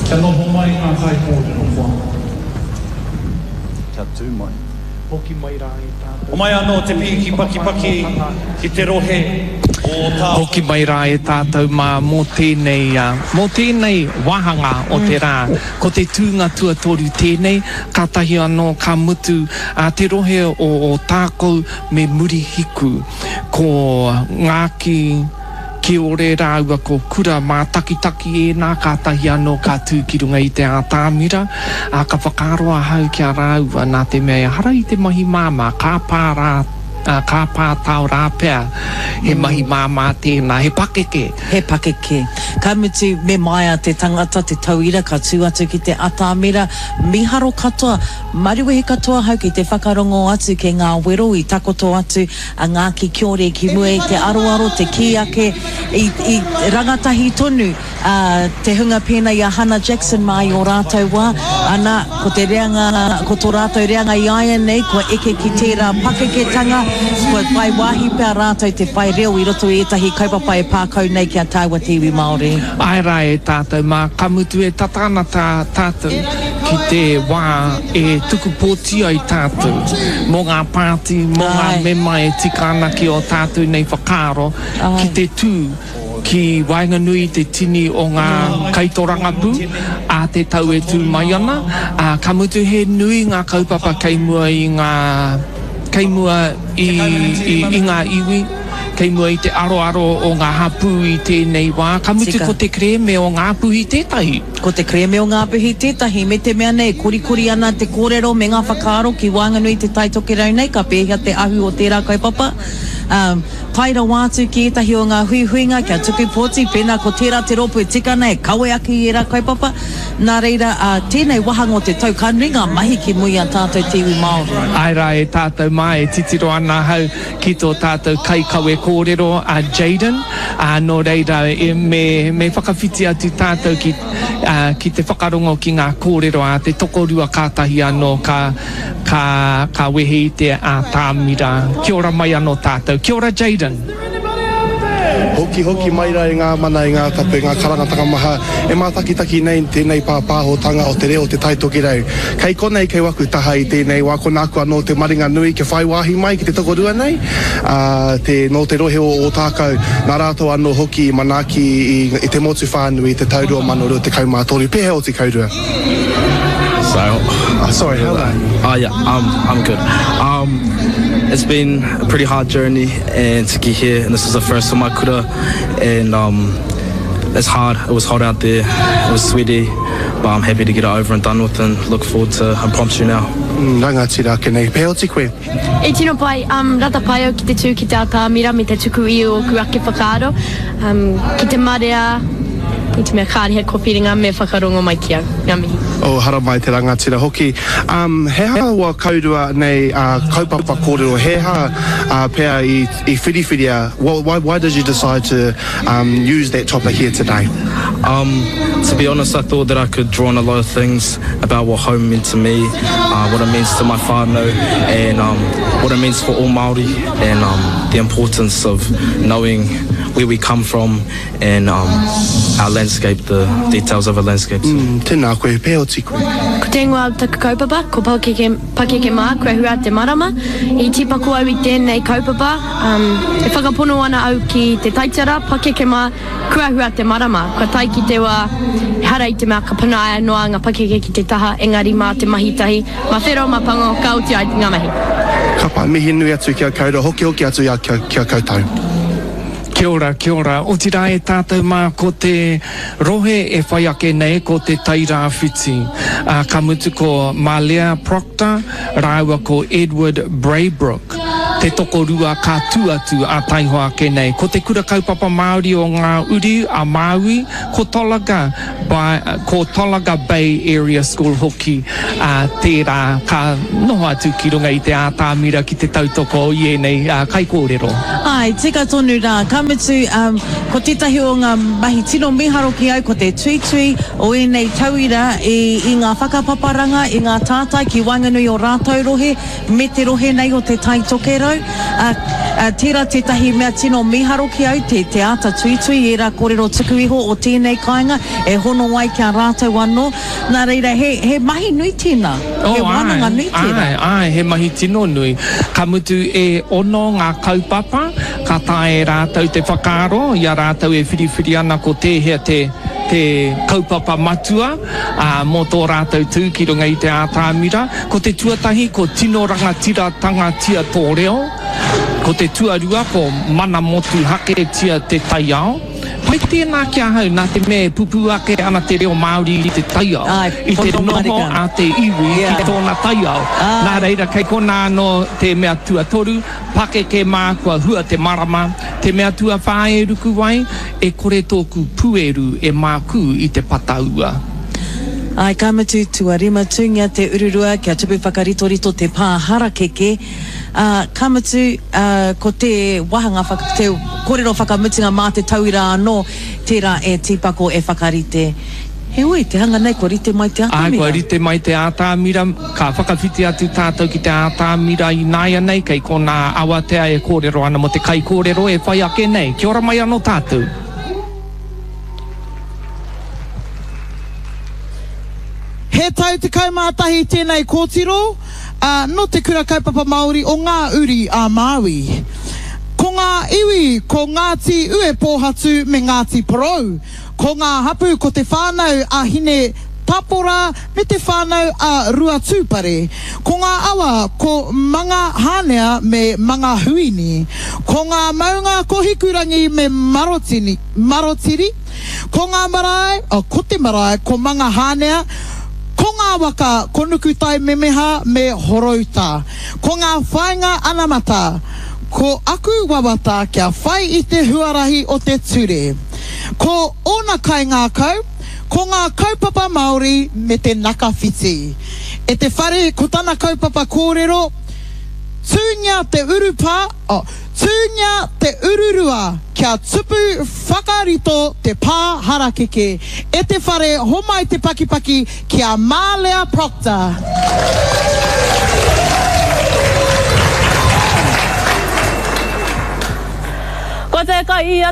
Kia noho mai ngā kaikōrero koa. Kia tū mai. Hoki mai rā e tātou. Homai anō te pīki pakipaki ki te rohe o Ōtākou. Hoki mai rā e tātou mā mō tēnei, mō tēnei wāhanga o te rā. Ko te tūnga tuatoru tēnei, kātahi anō ka mutu te rohe o Ōtākou me Murihiku. Ko Ngāki Kiore rāua ko Kura Mātakitaki ēnā kātahi anō ka tū ki runga i te ātamira, ā, ka whakaaro ahau ki a rāua nā te mea ehara i te mahi māmā, ka pā rā, ka pā tao rā pea, he mahi māmā tēnā, he pakeke. He pakeke. Ka mutu, me maea te tangata, te tauira ka tū atu ki te atamira, mīharo katoa, maruwehi katoa ahau ki te whakarongo atu ki ngā wero i takoto atu a Ngāki Kiore ki mua i te aroaro, te kī ake, i, i rangatahi tonu a, te hunga pēnei i a Hana Jackson mā i ō rātou wā, ana, ko te reanga, ko tō rātou reanga i āianei, kua eke ki tērā pakeketanga, kua whai wāhi pea rātou te whai reo i roto i ētahi kaupapa e pā kau nei ki a tāua te iwi Māori. Āe rā e tātou mā, ka mutu e tata ana tā tātou ki te wā e tuku pōti ai tātou mō ngā pāti, mō ngā mema e tika ana ki ō tātou nei whakaaro ki te tū ki waenganui i te tini o ngā kaitorangapū ā te tau e tū mai ana, ā, ka mutu he nui ngā kaupapa kei mua i ngā, kei mua i, i, i ngā iwi. Kei mua i te aroaro o ngā hapū i tēnei wā, ka mutu ko te kerēme o Ngāpuhi tētahi. Ko te kerēme o Ngāpuhi tētahi, me te mea nei, korikori ana te kōrero me ngā whakaaro ki waenganui i Te Tai Tokerau nei, ka pēhea te ahu o tērā kaupapa? Ā, tae rawa atu ki ētahi o ngā huihuinga kia tuku pōti, pēnā ko tērā te rōpū e tika ana e kawe ake i ērā kaupapa. Nā reira, ā, tēnei wāhanga o te tau, ka nui ngā mahi ki mua i a tātou te iwi Māori. Āe rā e tātou mā, e titiro ana ahau ki tō tātou kaikawe kōrero a Jayden, ā, nō reira, me, me whakawhiti atu tātou ki, ā, ki te whakarongo ki ngā kōrero a te tokorua kātahi anō ka, ka, ka wehe i te ātamira. Kia ora mai anō tātou. Kia ora Jayden. Hoki hoki mai rā e ngā mana, e ngā tapu, e ngā karangatanga maha e mātakitaki nei tēnei pāpāhotanga o te reo o Te Tai Tokerau. Kei konei, kei waku taha i tēnei wā, ko nāku anō te maringa nui kia whai wāhi mai ki te tokorua nei, ā, te, nō te rohe o Ōtākou, nā rātou anō hoki i manaaki i, i te motu whānui i te tau 2023. Pēhea oti kaurua? So, oh, sorry, how are you? Oh yeah, I'm, I'm good. Um, it's been a pretty hard journey and to get here, and this is the first of my kura, and um, it's hard. It was hot out there, it was sweaty, but I'm happy to get it over and done with and look forward to impromptu now. Mm, rangatira ake nei. Pēhea oti koe? E tino pai, um, rata pai au ki te tū ki te atamira me te tuku i ōku ake whakaaro, um, ki te marea, i te mea kāre he kowhiringa me whakarongo mai ki au. Ngā mihi. Oh, haramai te rangatira hoki. Um, he aha wa kaurua nei uh, kaupapa kōrero, he aha uh, pea i, i whiriwhiria, why, why did you decide to um, use that topic here today? Um, to be honest, I thought that I could draw on a lot of things about what home meant to me, uh, what it means to my whānau, and um, what it means for all Māori, and um, the importance of knowing where we come from and um, our landscape, the details of our landscape. Mm, tēnā koe, pēhea oti koe? Ko te ingoa o taku kaupapa, ko Pakeke, Pakeke Mā, Kua Hua Te Marama. I tīpako au i tēnei kaupapa, um, e whakapono ana au ki te taitara, Pakeke Mā, Kua hua te marama, kua tae ki te wā, ehara i te mea ka panaia noa ngā pakeke ki te taha, engari mā te mahi tahi, mā whero, mā pango, ka oti ai ngā mahi. Ka pai, mihi nui atu ki a koutou, hokihoki atu ki a koutou. Kia ora, kia ora. Otirā e tātou mā ko te rohe e whai ake nei ko Te Tairāwhiti. Ā, ka mutu ko Malea Proctor rāua ko Edward Braybrook. Te tokorua ka tū atu a taihoa ake nei. Ko Te Kura Kaupapa Māori o Ngā Uri a Māui, ko Tolaga by, ko Tolaga Bay Area School hoki ā, tērā ka noho atu ki runga i te ātamira ki te tautoko i ēnei kaikōrero. Āe, tika tonu rā. Ka mutu, ko tētahi o ngā mahi tino mīharo ki au ko te tuitui o ēnei tauira i, i ngā whakapaparanga, i ngā tātai ki waenganui o rātou rohe, me te rohe nei o Te Tai Tokerau. rātou. Ā, ā, tērā tētahi mea tino mīharo ki au, te, te āta tuitui i ērā kōrero tuku iho o tēnei kāinga e hono ai ki a rātou anō. Nā reira, he, he mahi nui tēnā. He Oh, āe, wānanga nui tērā. āe, āe, he mahi tino nui. Ka mutu e ono ngā kaupapa ka taea e rātou te whakaaro i a rātou e whiriwhiri ana ko tēhea te, te kaupapa matua, ā, mō tō rātou tū ki runga i te ātamira. Ko te tuatahi ko tino rangatiratanga-tia tō reo, ko te tuarua ko mana motuhaketia te taiao. Pai tēnā ki ahau nā te mea e pupū ake ana te reo Māori i te taiao, i te noho a te iwi ki tōna taiao. Nā reira kei konā anō te mea tuatoru, pakeke mā kua hua te marama, te mea tuawhā e ruku ai, e kore tōku pueru e mākū i te pata ua. Āe, ka mutu, tuarima, tūngia te ururua kia tupu whakaritorito te pā harakeke, ā, ka mutu, ā, ko te wāhanga whaka, te kōrero whakamutunga mā te tauira anō tērā e tīpako, e whakarite. Heoi, te hanga nei kua rite mai te Āe, atamira. kua rite mai te atamira, ka whakawhiti atu tātou ki te atamira ināianei, kei konā awatea e kōrero ana mō te kaikōrero e whai ake nei. Kia ora mai anō tātou. He tau 11 tēnei kōtiro, ā, nō Te Kura Kaupapa Māori o Ngā Uri a Māui. Ko ngā iwi ko Ngāti Uepōhatu me Ngāti Porou. Ko ngā hapū ko Te Whānau a Hine Tapora me Te Whānau a Ruatūpare. Ko ngā awa ko Mangahānea me Mangahuini. Ko ngā maunga ko Hikurangi me Marotini, Marotiri. Ko ngā marae, oh, ko te marae, ko Mangahānea, ko ngā waka, ko Nukutaimemeha me Horouta. Ko ngā whāinga anamata, ko aku wawata kia whai i te huarahi o te ture. Ko ōna kaingākau, ko ngā kaupapa Māori me te nakawhiti. E te whare, ko tana kaupapa kōrero, Tūngia te urupā, oh, tūngia te ururua kia tupu whakarito te pā harakeke. E te whare, homai te pakipaki ki a Marlea Proctor. Ko te kai a.